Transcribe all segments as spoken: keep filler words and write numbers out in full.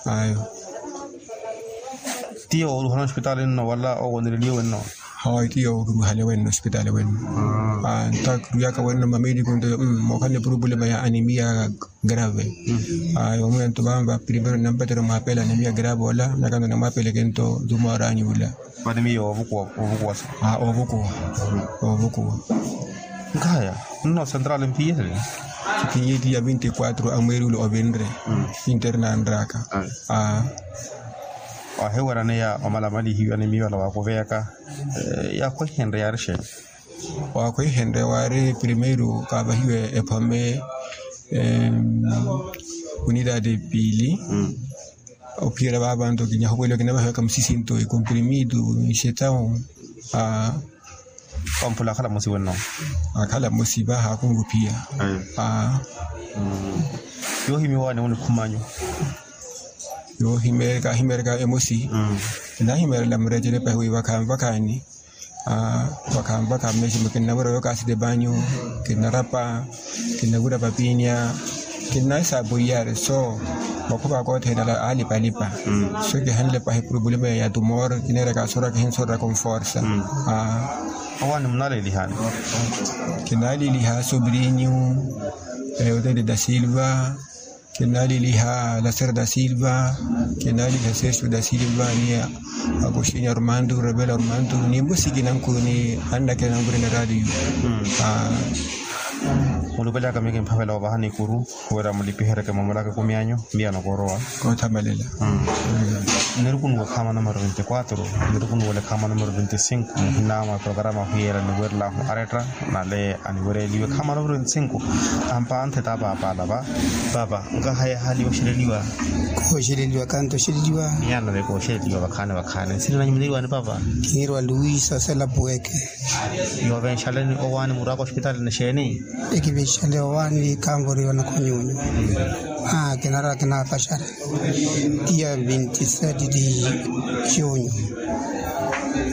Ayo. Tiyo oruhana ospitaali nno wala owonereliye wenno? Hayi tiyo oruhale wenno ospitaali wenno. Nta kiruwaka wenno mamediku nto mookhala ni problema ya anemia grave. Ayo omuya nto vanva primero nampatera omwapela anemia grave ola nakanta namwapeleke nto nto mwaranyu ula. Vani miyo ovukuwa ovukuwa sa? Ovukuwa. Ovukuwa. Nkaya nno central mpiye? Mpiye ti ya vinti kwatro amweri ula ovinre. Internanraka. Ahiweraneya omalamalihiwa ni miyo ala wakuveyaka. Yakhwehenre yaari xeeni? Wakhwehenre waari primeiru kaavahiwe ephome unidade piili. Ophiyela vavanto kinyahuweliwa kinavahiwaka musisinto ekomprimitu nxetawu. Wamphula akhala mmosi wenno? Akhala mmosi vaha akunruphiya. Yoohimiwa waani munikhum'anyu? Yoohimeereka ahimeereka emosi. Kinahimeerela murecele pahi wi vakhaani vakhaani. Vakhaani vakhaani meximo kinnavura yookasite vanyu. Kinnarapa kinnavura vapinya. Kinnaisa apoiyari so makhuva akothene ala alipalipa. So kihanle pahi problema ya tumor kineeraka asora kihinsoraka onforsa. Awaani munalelihani? Kinaleliha sobrinyu eutete da silva. Kinaleliha lasera da silva. Kinaleliha sesu da silva ni akoxini armandu rebela armandu ni mbusi kinankuni. Annakina nankuni na radio. Mulupelaka miyo kimphavela ovaha nikuru wira mulipihereke mamulaka ekumi anyu. Miyano korowa. Kothamalela. Nirukunu wa khama numero veintikwatro. Nirukunu wale khama numero veinticinco muhina mwa programa hwiyela niwerlahu aretta nale aniwereliwe khama numero veinticinco. Ampanthe ta paapa alava. Paapa nkahaya hali oxeleliwa? Kooxeleliwa kanto oxeleliwa. Miyano veke oxeleliwa vakhaani vakhaani nsina nanyu muniriwani paapa? Kiniriwa luisa sela puweke. Yoovenxaleni owaani murwaka ospitaali ni xeeni? Ekivinxale owaani kanvoriwa na khonyunyu. Kinarwa kinapaxara. Iya vintisete di junyu.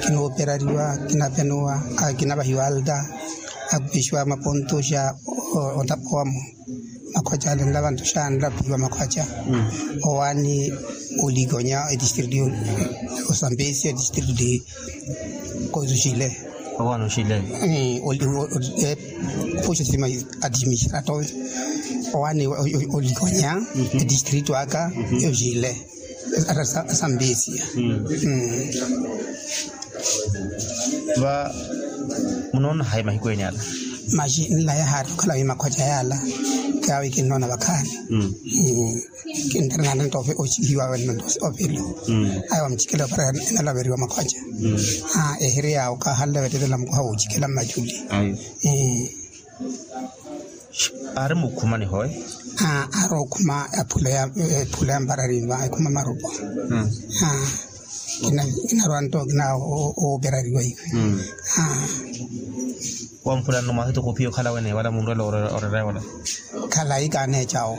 Kinooperariwa kinapenuwa. Kinavahiwa alta. Akupixiwa maponto xa otapowamo. Makhwacha ale nlavanto xa nlapiwa makhwacha. Owaani olikonya etistritu. Osambesi etistritu di kozuxile. Owaani oxile. Puxa sima. Administrator owaani olikonya etistritu aka. Oxile. Ata sambesia. Va munoona hayi mahiku ene ala? Maxi nlaya haari okhala wi makhwacha yala. Kaawi kinnoona vakhaani. Kintarina nto oxihiwa wenno nto ovelo. Ayo wamuchikela opara enalaveriwa makhwacha. Ehiri yawo kahanle vetelela mukuha wuchikela mmachuli. Aari mukhuma nihoye? Aari okhuma. Ephula ya mparari va ekhuma marupa. Kinarwa nto kina ooperariwa iwe. Wamphula nno mwahitu khuphiya okhala wene wala munrwela orerewela? Khalayi kaneecawo.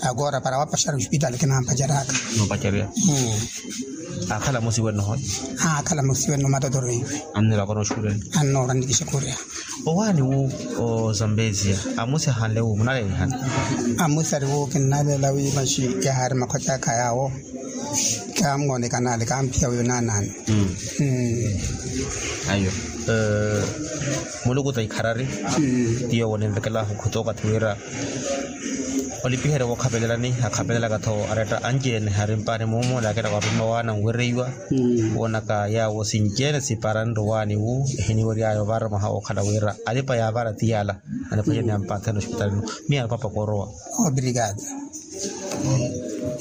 Agora para wapaxara ospitaali kinampacaraka. Noopacarya. Akhala musiwe nnoho? Akhala musiwe nno matotoro iwe. Annoora nikixakurya. Owaani wu ozambezia amusi ahanle wu munalelihani? Amusi ari wu kinnaleela wi maxi yahaari makhwaca aka yaawo. Kamuwoonekana ale kamphiya wi onaanaani. Ayo. Muluku ta ikharari. Tiyo wonenvekelahu khuto okathi wira olipiherya wookhapelelani akhapelelaka-tho aretta anci-ene ari mpaani muumulakela wapima waana nwereiwa. Woonaka yaawo sinci-ene siparanre owaani wu ehiniwery'aya ovara mwaha wookhala wira alipa yaavara ti yala. Aniphwanyani ampanthene ospitaali no. Miya papa koorowa. Obrigado.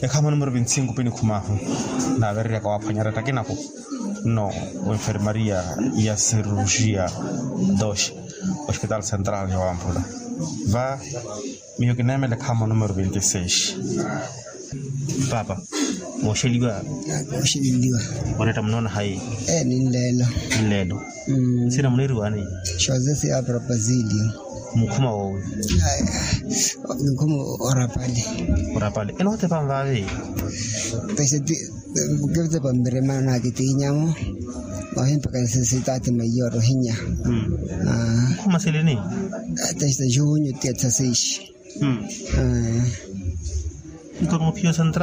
Ekhama numero vinti cinco pinikhum'ahu naavereryaka waaphwanya aretta akinaku. Nno wenfermaria ya cirurgia dos ospitaali central ya wamphula. Va miyo kineemela ekhama numero vinti seis. Paapa mooxeliwa? Mooxeliwa. Oretta munoona hayi? Ninleelo. Ninleelo. Nsina muniriwani? Joseph ya propasilio. Mukhuma woowi? Mukhuma orapale. Orapale enotepa nvaavi? Pese ti kevitepa mviremana nakitiinyamo. Wahimpaka sitaati maiyoro hinya. Mukhuma silini? Testa junho tia tsaseis. Nto nophiya central.